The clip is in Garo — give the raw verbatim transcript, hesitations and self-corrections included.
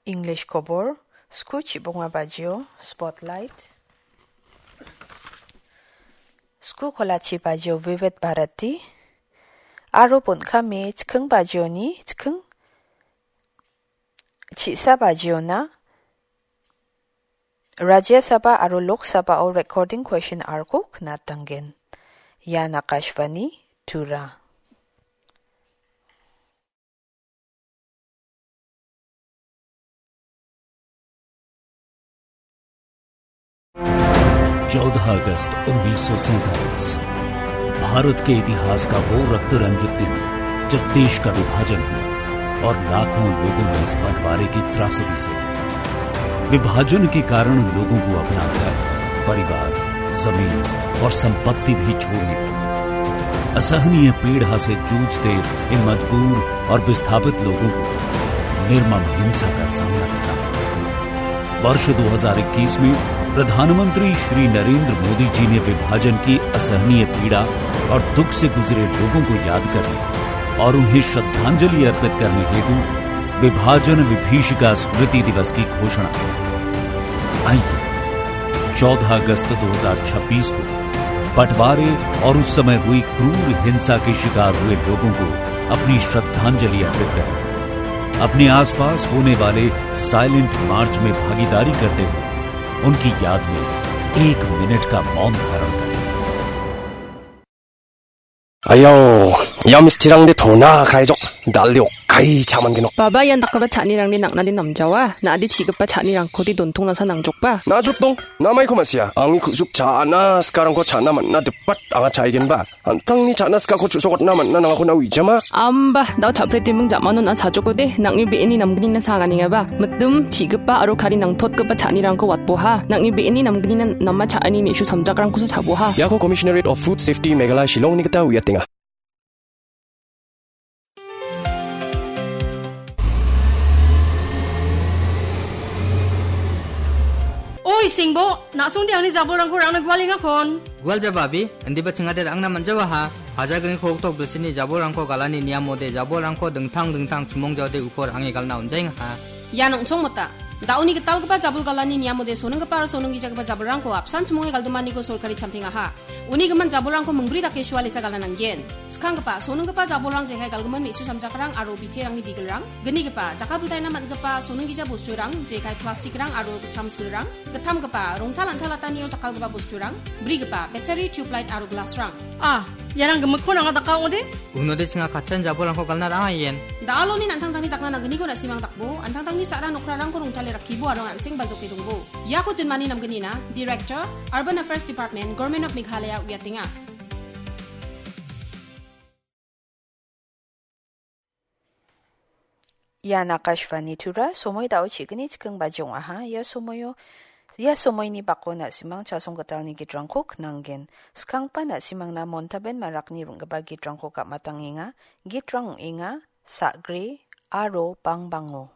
English kobor, sku chibonga bajio, Spotlight, sku kolachi bajio, Vivid Bharati, aro bon·kame chiking bajioni chiking chi·sa bajiona Rajya Sabha aro Lok Sabhao recording question arko knatanggen. Ian Akashvani Tura. चौदह अगस्त उन्नीस सौ सैंतालीस, भारत के इतिहास का वो रक्त रंजित दिन, जब देश का विभाजन हुआ और लाखों लोगों ने इस बंटवारे की त्रासदी सही। विभाजन के कारण लोगों को अपना घर, परिवार, जमीन और संपत्ति भी छोड़नी पड़ी। असहनीय पीड़ा से जूझते इन मजबूर और विस्थापित लोगों को निर्मम हिंसा का सामना करना पड़ा। वर्ष दो हज़ार इक्कीस में प्रधानमंत्री श्री नरेंद्र मोदी जी ने विभाजन की असहनीय पीड़ा और दुख से गुजरे लोगों को याद करने और उन्हें श्रद्धांजलि अर्पित करने हेतु विभाजन विभीषिका स्मृति दिवस की घोषणा की। आइए, चौदह अगस्त दो हज़ार छब्बीस को बंटवारे और उस समय हुई क्रूर हिंसा के शिकार हुए लोगों को अपनी श्रद्धांजलि अर्पित करें। अपने आसपास होने वाले साइलेंट मार्च में भागीदारी करते हुए उनकी याद में एक मिनट का मौन धारण करें। Ayo, ia mistirangde tona kraijok, dalde okai chaman genok. Baba, ian dakgipa cha·anirangde nang·nade namjawa, na·ade chi·gipa cha·nirangkode dontongnasa nangjokba. Na·jotdong, namaiko ma·sia, angni ku·suk cha·na sikarangko cha·na man·na dipat anga cha·aigenba. An·tangni cha·na sikako chu·sokatna man·na nangako na uijama. Amba, dao cha·pretiming jamano na·a chajokode, nang·ni be·eni namgnina saganengaba. Mitim, chi·gipa aro kari nangtotgipa cha·anirangko watboha. Nang·ni be·eni namgnina nama cha·ani me·su samjakrangkosa chaboha. Iako Commissionerate of Food Safety Meghalaya Shillongni gita uiatenga. Oi, Singbo, na·songde angni jabolrangko rangna gualengakon. Gualjaba abi, indiba chingade ra·angna man·jawaha. Hajagriko oktok bilsini jabolrangko galani niamode jabolrangko dingtang dingtang chimongjaode uko ra·ange galna on·jaengaha. Ian ong·chongmota. Da·oni gitalgipa jabol galani niamode soninggipa aro soninggijagipa jabolrangko apsan chimonge galdimaniko sorkari champengaha. Uni gimin jabolrangko mingbri dake sualesa galna nanggen. Skanggipa, soninggipa jabolrang jekai galgimin me·su samjakrang aro biterangni bigilrang. Gnigipa, jakkalbiltaina man·gipa soninggija bosturang, jekai plastikrang aro gitcham silrang. Gittamgipa, rongtal an·talatanio jakkalgipa bosturang. Brigipa, battery, tubelight aro glassrang. Ah, iarang gimikkon anga daka ong·ode? Unode chinga katchan jabolrangko galna ra·angaien. Da·aloni an·tangtangni dakna nanggniko na·simang dakbo, an·tangtangni sa·ra nokrarangko rongtale rakkibo aro an·seng baljoke dongbo. Iako jinmani namgnina, Director, Urban Affairs Department, Government of Meghalaya uiatenga. Ian Akashvani Tura, somoi da·o chi·gni chiking baji ong·aha. Ia somoio, ia somoini bako na·simang chasong gitalni gitrangko knanggen. Skanggipa na·simangna Montaben Marakni ring·gipa gitrangko gam·atangenga. Gitrang ong·enga, Sa·gre aro Bangbango.